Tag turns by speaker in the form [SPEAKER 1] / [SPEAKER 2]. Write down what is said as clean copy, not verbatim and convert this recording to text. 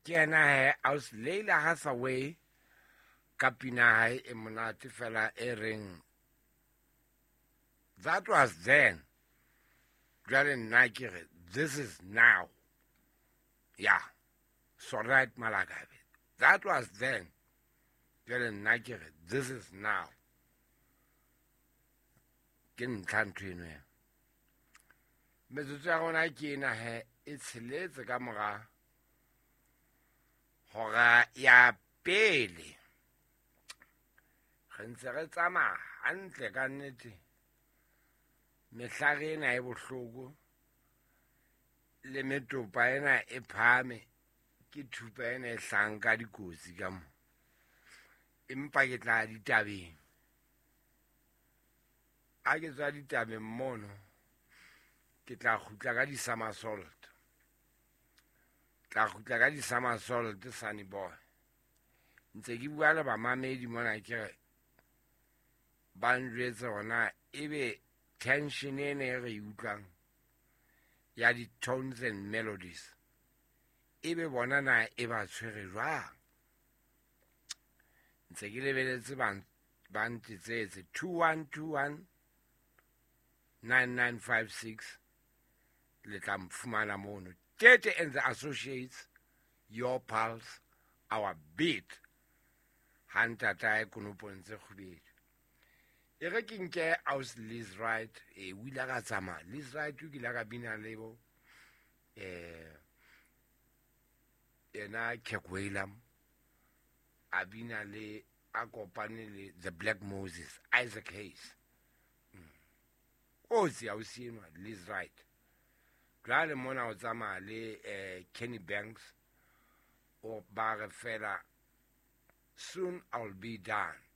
[SPEAKER 1] Ke yena he aus Leila Hathaway ka pina hae e monate fela e reng That was then. Jwale nna ke re this is now. Yeah. So right Malakabe. That was then. Jwale nna ke re this is now. Ke ntlha ntho eno ya. Metsotso ya rona ke ena he e tsheletse ka mora hora ya pele. Re ntse re tsamaya hantle ka nnete. Mehlare ena e bohloko le metopa ena e phahame ke thupa ena e hlahang ka dikotsi ka mo. Empa ke tla ditabeng. Ha ke tswa ditabeng mono ke tla kgutla ka di-somersault. Tla kgutla ka di-somersault Sunny Boy. Ntse ke bua le bamamedi mona ke re ba njwetse hona ebe tension ena e re e utlwang ya di-tones and melodies ebe bona na e ba tshwere jwang. Ntse ke lebeletse ba ntetsetse 2121 9956 le tla mfumana mono. Tete and the Associates, your pulse, our beat. Ha ntatae konopong tse kgubedu. E re ke nke aus Liz Wright, e o ile ka tsamaya. Liz Wright o kile ka bina le bo yena Kirk Whalum, a bina le a kopane le The Black Moses, Isaac Hayes. Kotsi ausi enwa Liz Wright. Jwale mona o tsamaya le Kenny Banks, o ba re fela soon I'll be done.